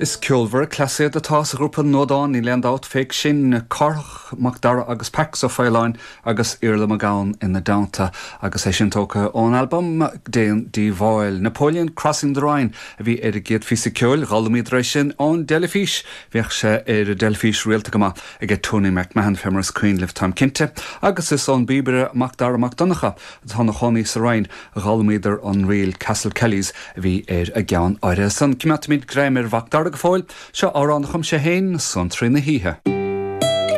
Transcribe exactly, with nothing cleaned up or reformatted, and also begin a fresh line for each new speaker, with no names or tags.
Is ceolmhar cleasaí atá sa ghrúpa Nodán níl aon dabht faoi sin Cárthach Mac Dara agus Pax Ó Faoláin agus Iarla Mac Gabhann ina dteannta agus é sin tógtha ón albam Déan Díobháil. Napoleon Crossing the Rhine a bhí ar a gcéad phíosa ceoil d'fhoghlaimíodar é sin ón dteilifís, bhíodh sé ar an dteilifís rialta go maith ag Tony McMahon fé mar is cuimhin libh táim cinnte, agus is ón bpíobaire Mac Dara Mac Donncha atá ina chónaí sa Rinn a d'fhoghlaimíodar an ríl Castle Kellys a bhí ar a gceann áirithe san. Coimeádfaimid greim ar Mhac Dara go fóill, seo amhrán a chum sé féin Suantraí na hOíche.